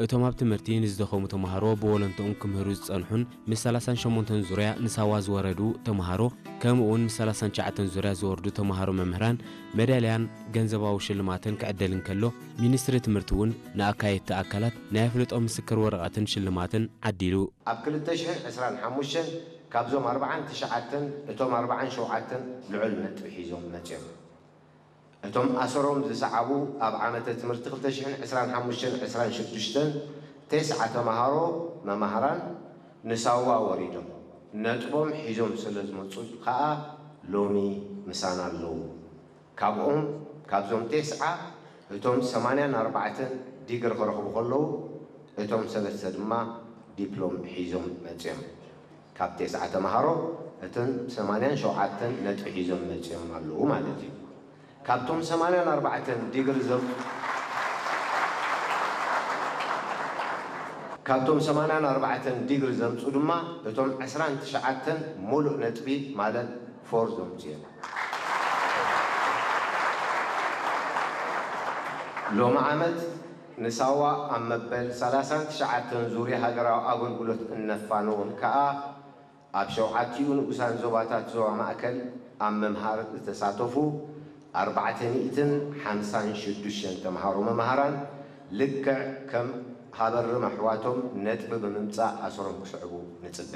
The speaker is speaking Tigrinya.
እቶም ኣብ ትምህርቲ ንዝደኸሙ ተምሃሮ ብወለንትኦም ክምህሩ ዝጸንሑን ምስ ሰላሳን ሸሞንተን ዙርያ ንሳዋ ዝወረዱ ተምሃሮ ከምኡ እውን ምስ ሰላሳን ትሽዓተን ዙርያ ዝወርዱ ተምሃሮ መምህራን መዳልያን ገንዘባዊ ሽልማትን ክዕደል እንከሎ፣ ሚኒስትሪ ትምህርቲ እውን ንኣካየድቲ ኣካላት ናይ ኣፍልጦ ምስክር ወረቐትን ሽልማትን ዓዲሉ። ኣብ ክልተ ሽሕን ዕስራን ሓሙሽተን ካብዞም ኣርብዓን ትሽዓተን እቶም ኣርብዓን ሸውዓተን ልዑል ነጥቢ ሒዞም መፅዮም። እቶም ኣሰሮም ዝሰዓቡ ኣብ ዓመተ ትምህርቲ ክልተ ሽሕን ዕስራን ሓሙሽተን ዕስራን ሽዱሽተን ቴስዓ ተምሃሮ መማህራን ንሳዋ ወሪዶም ነጥቦም ሒዞም ስለ ዝመፁ ከዓ ሎሚ ምሳና ኣለዉ። ካብኦም ካብዞም ቴስዓ እቶም ሰማንያን ኣርባዕተን ዲግሪ ክረኽቡ ከለዉ እቶም ሰለስተ ድማ ዲፕሎም ሒዞም መፅዮም። ካብ ቴስዓ ተምሃሮ እቶም ሰማንያን ሸውዓተን ነጥቢ ሒዞም መፅዮም ኣለዉ ማለት እዩ። ካብቶም ሰማንያን ኣርባዕተን ዲግሪ ዘም ካብቶም ሰማንያን ኣርባዕተን ዲግሪ ዘምፁ ድማ እቶም ዕስራን ትሽዓተን ሙሉእ ነጥቢ ማለት ፎር ዘምፅኡ እዮም። ሎሚ ዓመት ንሳዋ ኣብ መበል ሰላሳን ትሽዓተን ዙርያ ሃገራዊ ኣገልግሎት እነፋንዎም ከኣ ኣብ ሸውዓቲኡ ንኡሳን ዞባታት ዞባ ማእከል ኣብ ምምሃር ዝተሳተፉ ኣርባዕተ ሚእትን ሓምሳን ሽዱሽተን ተምሃሮ መምሃራን ልክዕ ከም ሃበርም ኣሕዋቶም ነጥቢ ብምምጻእ ኣሰሮም ክስዕቡ ንጽበ።